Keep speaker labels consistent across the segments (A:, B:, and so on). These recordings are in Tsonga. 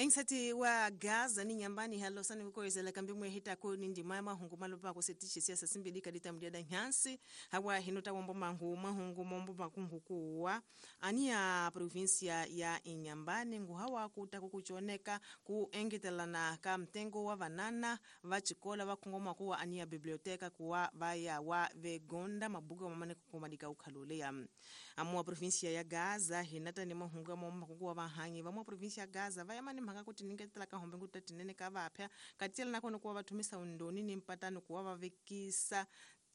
A: Engsati wa Gaza ni nyambani halo sani kukoyezela kambi mwe hita ko ni ndima ya mahungu malopa ko setishi siasa simbili kadita mdiada nyansi hawa hinota wombo mangu mahungu mombo makungu kuwa ania provincia ya Inhambane ngu hawa kuta kukuchoneka ku engetelana ka mtengo wa vanana vachikola vakungoma kuwa ania biblioteka kuwa vaya wa vegonda mabuku mamane kukumadika ukhalulea amua provincia ya Gaza hinata ni mahungu mombo makungu wa vahanyi vamua provincia ya Gaza vaya mani mhaka kuti ningetela ka hombe nguta tinene ka vapya katiyela nakona kuwa vathumisa undoni ni mpatano kuwa vavekisa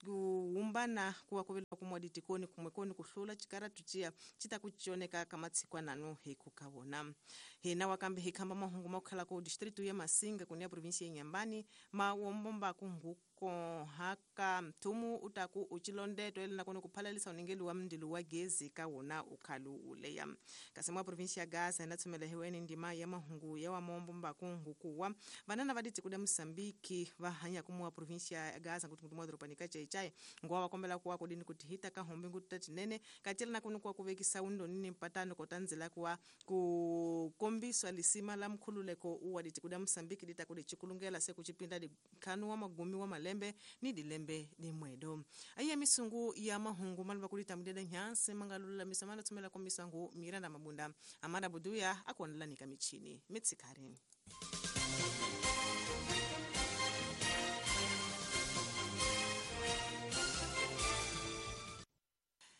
A: kuumbana kuwa kuvela kumwa ditikoni kumwekoni kuhlula chikaratu chiya chita kuchioneka kamatsikwa nanu hikuka wona hina wakambe hikhamba mahungu makukhala ku distritu ya Masinga kunia provinsia ya Inhambane mawombomba kunguko haka mthumu utaku uchilondeto ele nakona kuphalalisa uningeli wa mndilu wa gezi ka wona ukhalu uleya kasi mwa provinsia ya Gaza inatsomela heweni ndima ya mahungu ya wamombomba kungukuwa vanana va ditikuda Mosambiki va hanya kumwa provinsia ya Gaza kuti mwa doropa ka chai ngowa vakombela kuwa kudini kuti hita ka hombe nguta tinene katiyela nakoni kuwa kuvekisa undoni ni mpatano kotanzela kuwa kukombiswa lisima la mkhululeko uwa ditikuda Mosambiki ditakudi chikulungela se kuchipinda dikhanu wa magumi wa malembe ni dilembe dimwedo aiya misungu ya mahungu maluva kulita mudeda nyansi mangalulamisa malatsomela komisangu Miranda Mabunda amada buduya akuonelanika michini mitsikari.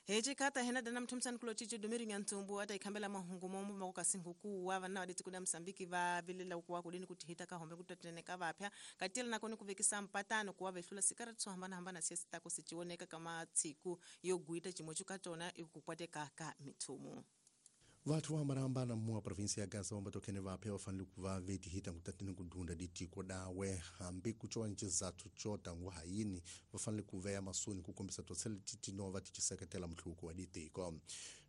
A: Hejikata hena dana mthumsani kulo chicho domiri nyantsumbu ata ikhambela mahungu mombo makukasinguku wa vana vaditi kuda Mosambiki va vilela kuwa kudini kuti hita ka hombe kutatinene ka vapya katiyela nakoni kuvekisa mpatano kuwa vehlula sikaratu swo hambanahambana siya sitako sichioneka kama tsiku yo gwita chimwe chukatona ikukwateka ka mithumu.
B: Vathu vo hambanahambana mua provinsia ya Gaza vambatokene vapya vafanele ku va vetihita ngutatini kudunda ditiko dawe hambi kucowa ni cizathu co tangu hayini va fanele ku veya masoni ku kombisa totsele titinova ti ciseketela mihluvuko wa ditiko.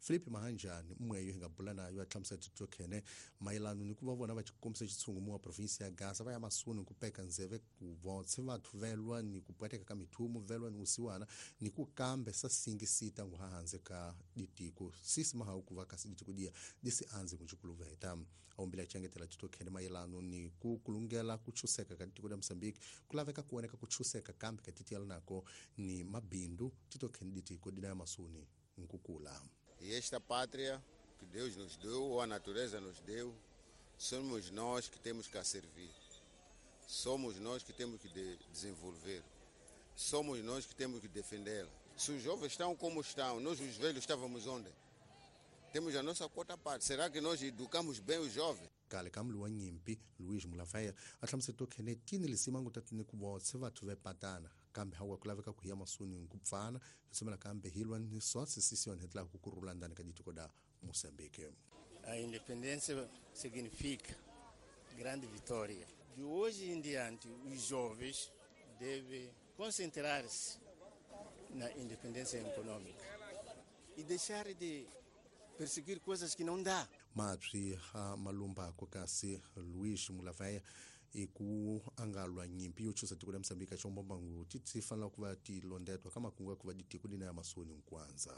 B: Filipe Mahanjani mweyo hi nga bula nayo a hlamusela titokhene mayelano ni ku va vona va kombisa xitshungu mua provinsia ya Gaza va ya masoni ku peka ndzeve ku votshe vathu velwa ni ku pwateka ka mithumu velwa ni vusiwana ni ku kambe sa singisita ngu hanze ka ditiko sisi mahawu ku va kasi ditiko dia disi anze kuchikuluveta aumbile achengetela titokhene mayelano ni ku kulungela kuchuseka ka tiko la Mosambiki kulaveka kuoneka kuchuseka kambe ka titiyela nako ni mabindu titokhene ditiko dina ya masuni nkukula.
C: E esta pátria que Deus nos deu, ou a natureza nos deu, somos nós que temos que a servir. Somos nós que temos que desenvolver. Somos nós que temos que defendê-la. Se os jovens estão como estão, nós os velhos estávamos onde? Temos a nossa quota parte. Será que nós educamos bem os jovens?
B: Kale ka mlu wa nyimpi Luís Mulavaya a hlamusela tokhene tini lisima nguta tini ku votse vathu vepatana kambe hawa ku laveka ku hiya masuni ku pfana hi kambe hilwa ni swatsi sisiona hi tlaka ku rula ndani ka ditiko da Moçambique.
D: A independência significa grande vitória. De hoje em diante, os jovens devem concentrar-se na independência econômica e deixar de perseguir coisas que não dá.
B: Mapsi ha malumba kasi Luís Mulavaya iku angalwa nyimpi yo chusa tiko la Mosambiki chombomba ngu titsi fanela ku va tilondetwa ka makungu ya ku va ditiko dina ya masoni nkwanza.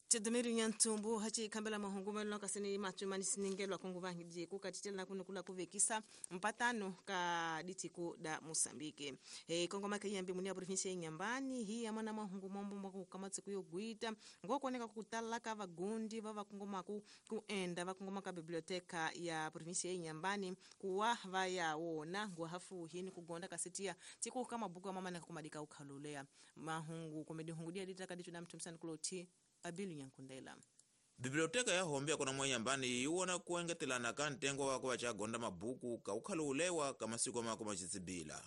A: Tedemiri nyantsumbu hachi khambela mahungu melwa kasini matsumani siningelwa kungu vangi ku katitela nakuni kula kuvekisa mpatano ka ditiko da Mosambiki. Kongoma ke yambi munia provinsia ya Inhambane hi ya mana mahungu mombo mako kamatsiku yo gwita ngokoneka kutala ka vagundi va vakongoma ku kuenda vakongoma ka biblioteka ya provinsia ya Inhambane kuwa vaya wona ngwa hafu hini kugonda kasitia tiku kama buku mama na kumadika ukhalulea mahungu komedi hungu dia ditaka dicho na mtumsani kuloti Abilu Nyankundela.
E: Biblioteka ya hombya kona mwa Inhambane iwona kuengetelana ka ntengo wako vachagonda mabuku ka ukhalulewa ka masiku mako machitsibila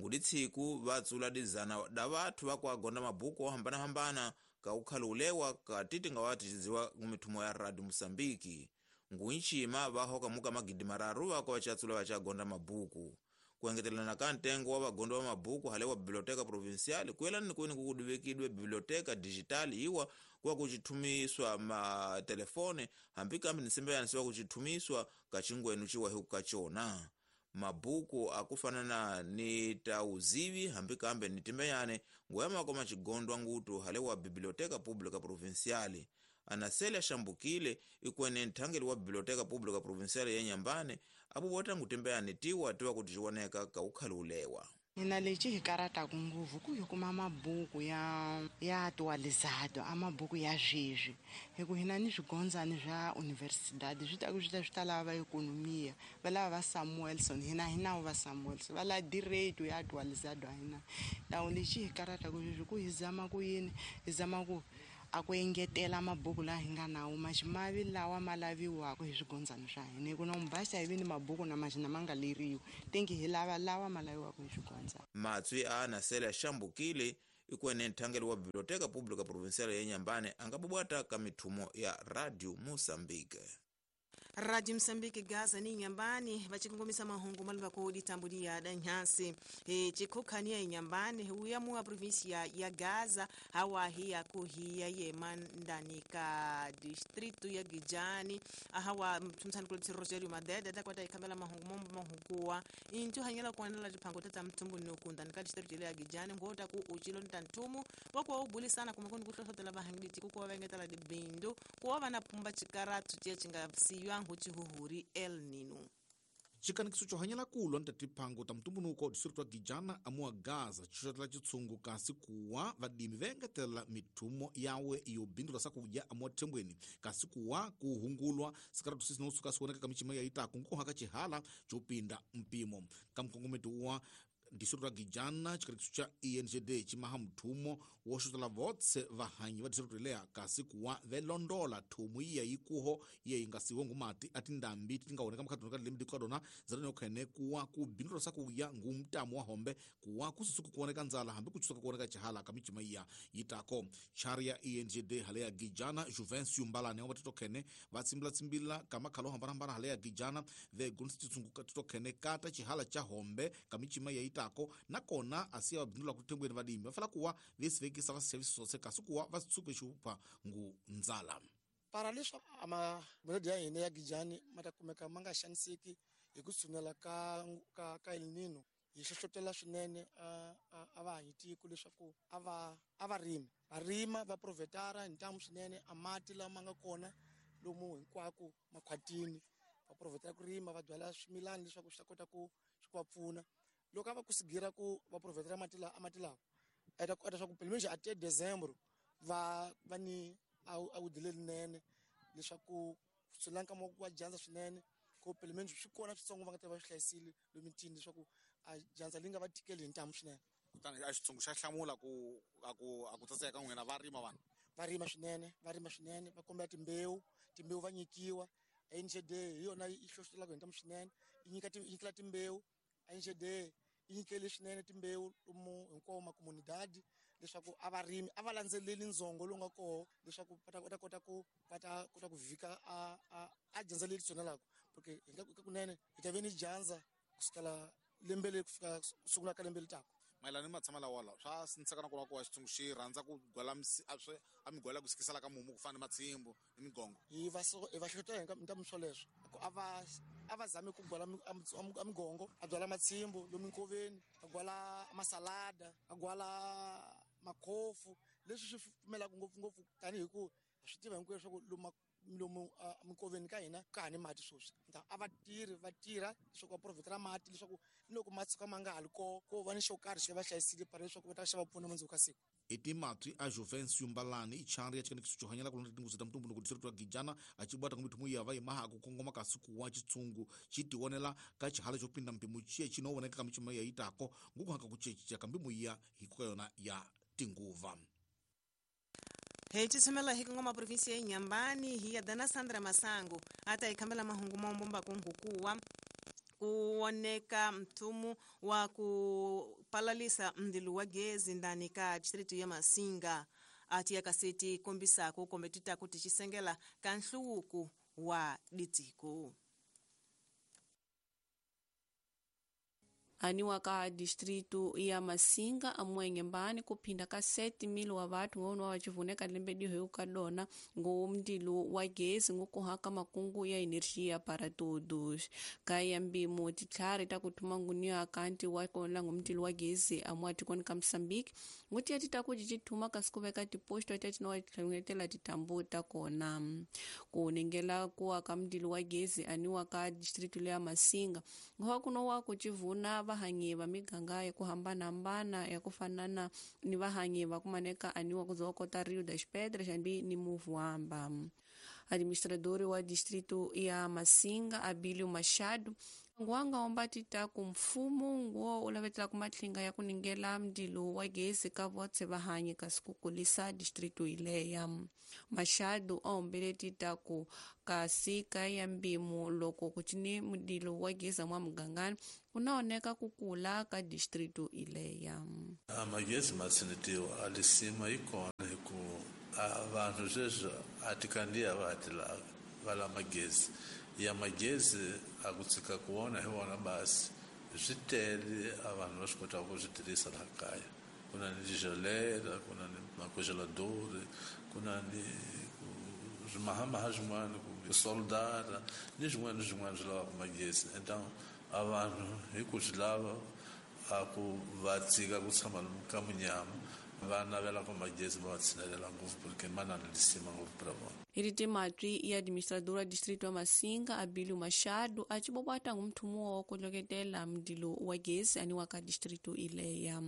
E: ngudi tsiku vatsula dizana da vathu vakuagonda mabuku ohambanahambana ka ukhalulewa ka titi nga watichidziwa kumithumo ya Radio Mosambiki ngunchima vahoka muka magidi mararu vako vachatsula vachagonda mabuku kuengetelana ka ntengo wa vagondo va mabuku hale wa biblioteka provincial kuyelani ni kweni kukuduvekidwe biblioteka digital iwa kuwa kuchithumiswa matelefone hambi kambi nisimbeyanisiwa kuchithumiswa kachingwenu chiwahi kukachona mabuku akufanana ni tauzivi hambi kambe ni timbeyane ngoyamako machigondwa ngutu hale wa biblioteka pública provincial. Anasele Shambukile ikwene nthangeli wa Biblioteca Pública Provincial ya Inhambane apo ngutembeani tiwa tiwa kuti cioneka kaukhali ulewa.
F: Hina lexi hi karataku ngopfu ku hi kuma mabuku ya atualizado a mabuku ya sweswi hi ku hina ni swigondzani swa universidade swi taku swi ta lava va ekonomia va lava va Samuelson hina hi nawu va Samuelson va lava direito ya atualizado a hina tawu lexi hi karataku sweswi ku hi zama ku yini hi zama ku a ku engetela mabuku laha hi nga nawo maximavi lawa ma laviwaka hi swigondzani swa hina hi ku na mubasa hi vi ni mabuku na maxina ma nga leriwi tingi hi lava lawa ma laviwaka hi swigondzani.
E: Matswi a Anasele Shambukile ikwene nthangeli wa Biblioteca Pública Provincial ya Inhambane angabubwata ka mithumo ya Radio Moçambique.
A: Radio Msambiki Gaza ni Inhambane vachikongomisa mahungu maluvako ditambulia da nhansi chikhukhania Inhambane huya mua província ya Gaza hawa hiya kuhiya yemandani ka distrito ya Gijani hawa mthumsani kulipsi Rogerio Madede takwata ikhambela mahungu mombo mahunguwa intu hanyela kuonela tiphango tata mthumbu nokunda ka distrito ya Gijani ngota ku uchilo ntanthumu wakuwa ubulisana kumakoni kuhlohlotela vahangidi kukuwa vengetela dibindu kuwa vana pumba chikaratu chiya chingasiywa huchihuhuri El Nino.
G: Chikanikiso chohanyela kulwa ni tatiphango ta mutumbunuko distrito wa Gijana amuwa Gaza xixotela chitshungu kasi kuwa vadimi va engetela mithumo yawe yo bindula sakudya amuwa thembweni kasi kuwa kuhungulwa sikaratu sisi nosuka siwoneka ka michima ya itaku nkuhaka chihala chopinda mpimo ka mukongometi wa distrito wa Gijana chikanikiso cha ENGD chimaha muthumo wo xotela votse vahanyi va distrito leya kasi kuwa velondola thumu iya yikuho iya yingasiwe ngumati atindambi tingaoneka mukhatuni ka lembe dikadona zalenokhene kuwa kubindula sakuya ngumtamu wa hombe kuwa kususuku kuoneka ndzala hambi kuchusuka kuoneka chihala ka michima iya yitako. Chari ya ENGD hale ya Gijana Juvencio Mbalane wa titokhene vatsimbilatsimbila ka makhalo hambanahambana hale ya Gijana vegonisa chitsungu titokhene kata chihala cha hombe ka michima iya yitako nakona asiya vabindula kuthembweni vadimi vafala kuwa vesivekisa vasixavisi swose kasi kuwa vasitsuke xupha ngu ndzala.
H: Para leswi amamolodi ya hina ya Gijani ma ta kumeka ma nga xaniseki hi ku tshunela ka El Nino hi hlohlotela swinene a vahanyi tiko leswaku a va rimi va rima va provetara hi ntamu swinene a mati lama nga kona lomu hinkwako makhwatini va provetara ku rima va byala swimilani leswaku swi ta kota ku swi va pfuna loko a va kusigira ku va provetara mati lawa eta swa ku pelo menos até dezembro va ni a wudile linene leswaku swi lanka mo wa dyandza swinene ku pelo menos swi kona switsongo va nga ta va swi hlayisile lomitini leswaku a dyandza li nga va tikeli hi ntamu swinene.
G: Kutani a xitshungu xa hlamula ku a ku tsatseka n'wina va rima vanhu
H: va rima swinene va kombela timbewu va nyikiwa. NGD hi yona yi hlohlotelaka hi ntamu swinene yi nyikela timbewu. NGD yi nyikele swinene timbewu lomu hinkwawo makomunidadi leswaku a va rimi a va landzeleli ndzongo lowu nga koho leswaku va ta kota ku va ta kota ku vhika a dyandza leri tshunelaka porque hi nga kunene hi ta ve ni dyandza kusukela lembe leri ku fika sungula ka lembe leri taka.
G: Mayelana ni matshama lawa lawa swa sindziseka na kona ku wa xitshungu xi rhandza ku gwala a migwala ku sikisela ka mumu ku fana ni matshimbu ni migongo.
H: Hi va hlohlotela hi ntamu swoleswo ku a va zami ku gwala a migongo a byala matshimbu lomu nkoveni a gwala masalada a gwala makhofu leswi swi pfumelaka ngopfungopfu tanihi ku swi tiva hinkwenu leswaku lomu minkoveni ka hina ka ha ni mati sweswi a va tirhi va tirha leswaku va provetela mati leswaku ni loko ma tshuka ma nga ha li koho ko va ni xo karhi xi va hlayisile para leswaku va ta xa va pfuna mundzuku ka siku.
G: I timatswi a Juvencio Mbalani i chari ya chikanikiso chohanyela kulonda tinguzi ta mutumbunuko distrito wa Gijana achibwata kumithumu iya va imaha kukongoma kasi kuwa chitsungu chitionela ka chihala chopinda mpimo chiye chinooneka ka michima ya itako ngukuhaka kuchechicha kambimu iya hikuka yona ya tinguva.
A: Hey, tshumela hi kongoma província ya Inhambane hi ya Dana Sandra Masango ata ikhambela mahungu maombomba kungukuwa kuoneka mthumu wa kupalalisa mdilu wa gezi ndani ka distrito ya Masinga ati yakaseti kombisako kombe titaku tichisengela ka nhluwuku wa ditiko.
I: Aniwa ka distrito ya Masinga amwenyembani kuphinda ka 7,000 wa vathu ngono wachivuneka lembe diho kadona ngo mndilo wa gezi ngokuhaka makungu ya energia para todos. Kaya mbimo titlhari ta kuthuma nguniwa kanti wa kona ngomndilo wa gezi amwati koni ka Mozambique nguti ya tita kuti chithuma kasi kuveka tiposto ta tinowatlhengetela titambu ta kona. Kunengela kuwa ka mndilo wa gezi aniwa ka distrito ya Masinga ngowa kunowa kuchivuna vahanyi va miganga ya ku hambanahambana ya ku fanana ni vahanyi va kumaneka aniwa kuzowa kota Rio das Pedras hambi ni Muvuamba. Administrador wa distrito ya Masinga Abilio Machado nguwanga omba tita ku mfumo nguwo ulavetela ku matlinga ya kuningela mndilo wa gezi ka votse vahanyi kasi kukulisa distrito ileya. Machado aombele tita ku kasi ka ya mbimo loko kucini mndilo wa gezi mwa mugangani kunaoneka kukula ka distrito ileya.
J: Magezi matsinetiwa alisima ikona hiku vanhu sweswi a ti kandziya va ti lava va la magezi ya magezi a ku tshika ku wona hi wona basi swi tele a vanhu va swi kotaka ku swi tirhisa laha kaya. Ku na ni tigelera, ku na ni makogeladori, ku na ni swimahamaha swin'wana ku soldara ni swin'wana ni swin'wana swi lavaka magezi. Então a vanhu hi ku swi lava a ku va tshika ku tshama ka munyama va navela ku magezi va tshinelela ngopfu porque ma na lisima ngopfu pra vona.
I: Iriti matwi ya administrador wa distrito wa Masinga Abilio Machado achibobwata ngumthumo wa kuloketela mdilo wa gezi aniwa ka distrito ileya.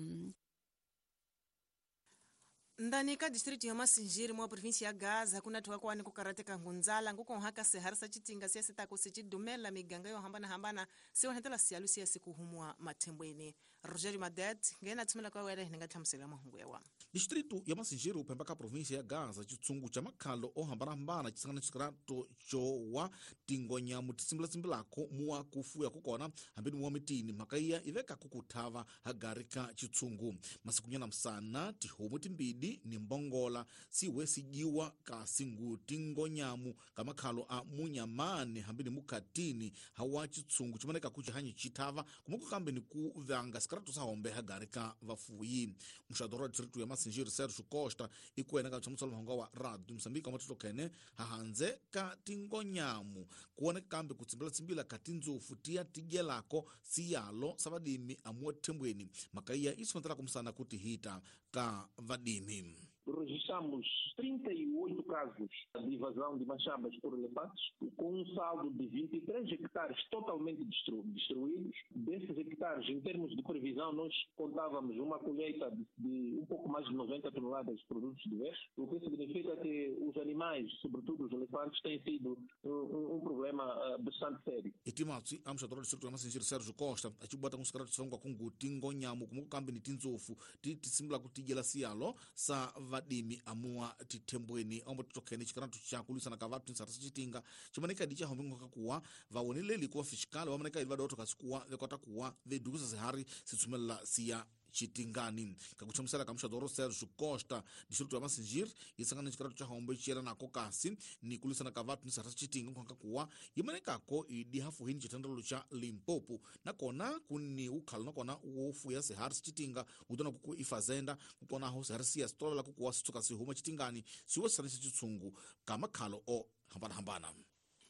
A: Ndani ka distrito ya Masinjiri mwa província ya Gaza kuna thuwa kwani kukarateka ngunzala ngukonhaka sehari sa chitinga siya sitako sichidumela miganga yo hambana hambana siwanhetela siyalu siya sikuhumwa mathembweni. Rogério Madet ngena thumela kwa wele ninga tlhamusela mahungu ya wa.
G: Distrito ya Masinjiri upemba ka província ya Gaza chitsungu cha makhalo ohambana-hambana chisangana chisikarato chowa tingonyamu tisimbila-simbilako muwa kufuya kukona hambeni muwa mitini mhaka iya iveka kukuthava hagari ka chitsungu. Masikunyana msana tihomu timbidi ni mbongola siwe sijiwa kasi ngu tingonyamu kamakhalo a munyamani hambeni mukhatini hawa chitsungu chimaneka kuchihanyi chithava kumoko kambe ni kuvanga sikarato sahombe hagari ka vafuyi. Muxadoro wa distrito ya Masinjiri Sergio Costa ikuena ka tshamuselo mahungu wa Radio Mozambique amatito kene hahanze ka tingonyamu kuoneka kambe kutsimbila-tsimbila ka tindzofu tiya tidyelako siyalo sa vadimi amuwa thembweni mhaka iya yi kumsana kuti hita ka vadimi.
K: Registramos 38 casos de invasão de machambas por elefantes, com um saldo de 23 hectares totalmente destruídos. Desses hectares, em termos de previsão, nós contávamos uma colheita de um pouco mais de 90 toneladas de produtos diversos, o que significa que os animais, sobretudo os elefantes, têm sido um problema bastante sério.
G: Itimatsi amxadoro distrito ya Masinjiri Sergio Costa achibwata kunsikara tisongwa kungu tingonyamu kumukambe ni tindzofu tisimbila kutidyela siyalo sa vadimi amuwa tithembweni ombototokhene chikaratu cha kulwisana ka vathu nsarasa chitinga chimaneka di chahombe ngoka kuwa vawoneleli kuwa fiskali vamaneka ili vadotho kasi kuwa vekota kuwa vedukusa sihari sitsumelela siya chitingani. Kakuchamusela kamuxadoro Sergio Costa distrito ya Masinjiri yisangana chikaratu cha hombe chiyelanako kasi ni kulwisana ka vathu nsarasa chitinga nkhwanka kuwa yimanekako idi hafuhini chithandelo cha Limpopo nakona kuni ukhalo nakona wofuya sihari sichitinga utona kuku ifazenda kukonaho sihari siya sitolovela kukuwa sitsuka sihuma chitingani siwo sisanisa chitsungu kamakhalo o hambana-hambana.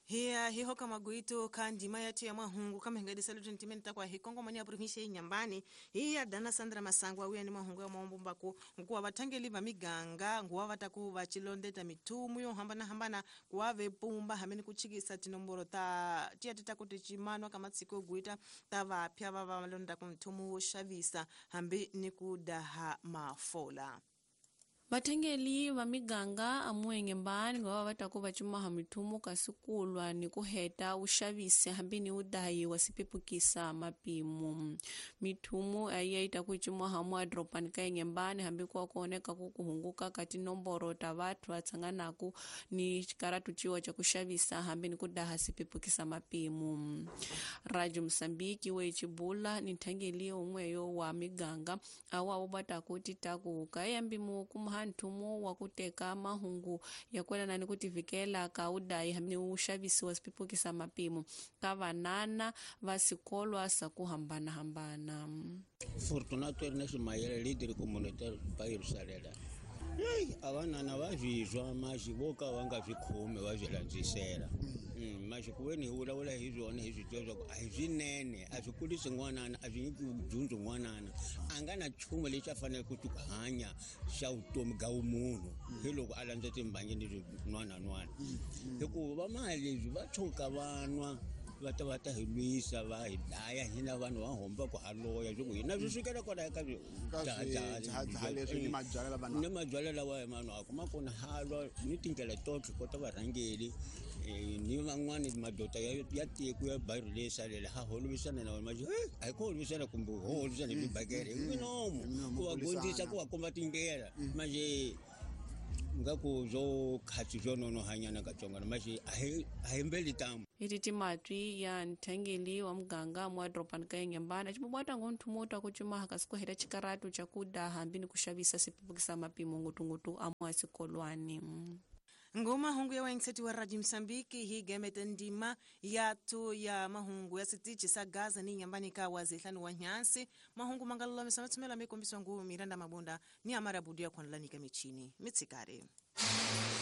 A: Hiya hiho kama guito kandima yatu ya mahungu kama hingadi salutu ntimeni takwa hikongo mani ya provincia ya Inhambane. Hiya dana Sandra Masangwa uya ni mahungu ya maombo mbako nkuwa batangeli ba miganga nguwa bataku bachilondeta mitumu yo hambana hambana kuwa vepumba hameni kuchikisa tinomboro ta tiya titakuti chimanwa kama tsiko guita tavapya vava malonda kumtumu shavisa hambi nikudaha mafola.
I: Vathengeli va miganga amuengembani ngava va taku va cumaha mithumu kasi kulwa ni ku heta wuxavisi hambi ni wudahi wa sipepukisa mapimo. Mithumu ayi yi ta ku cumaha muadropani ka Inhambane hambi ku kuoneka ku kuhunguka ka tinomboro ta vathu va tshanganaku ni xikaratu ciwa ca ku xavisa hambi ni ku daha sipepukisa mapimo. Radio Mozambique we chibula ni nthangeli un'weyo wa miganga awa wu va taku ti taku ka yambi mu kuma ka nthumo wa ku teka mahungu ya kwelana ni ku tivikela ka udayi hambi wu xavisiwa swipipukisa mapimo ka vanana va sikolwa sa ku hambanahambana.
L: Fortunato Ernest Mayele, leader communautaire pa Yerusalema. Ei, a vanana va swi zwa maxi vo ka va nga swi khomi va swi landzisela. Maxi ku ve ni hi vulavula hi swona hi swi tiva swa ku a hi swinene, a swi kulisi n'wanana, a swi nyiki dyondzo n'wanana. A nga na nchumu lexi a faneleke ku hanya xa vutomi bya vumunhu hi loko a landza timbangi ni swin'wanan'wana. Hikuva va mali leswi va tshuka va nwa va ta hi lwisa va hi dlaya hina vanhu va homba ku haloya swi ku hina swi sukela kwalaya ka
M: leswi
L: ni mabyalwa lawa ya manwaku ma kona halwa ni tindlela totlhe kota varhangeli ni van'wani madoda ya tiko ya bayiro leyi salela ha holovisana na wona maxi a hi ku holovisana kumbe ho holovisana hi swibakele hi minomo ku va gondzisa ku va komba tindlela manje ngaku byo khatsi byo nonohanyana katsongwana maxi a hi mbeli tamu.
I: Iti matwi ya nthangeli wa muganga mwa doropani ka Inhambane acibubwata ngo nthumuta kucumaha kasi kuheta cikaratu ca kuda hambi ni kuxavisa swipipukisa mapimo ngutungutu amwa sikolwani.
A: Ngoma hungu ya waingiseti wa Radio Msambiki hi gemete ndima ya tu ya mahungu ya sitichi sa Gaza ni Inhambane ka wazehlanu wa nyansi mahungu mangalula misametsumela mikombiswa ngu Miranda Mabonda ni Amara Budia kwanlanika michini mitsikare.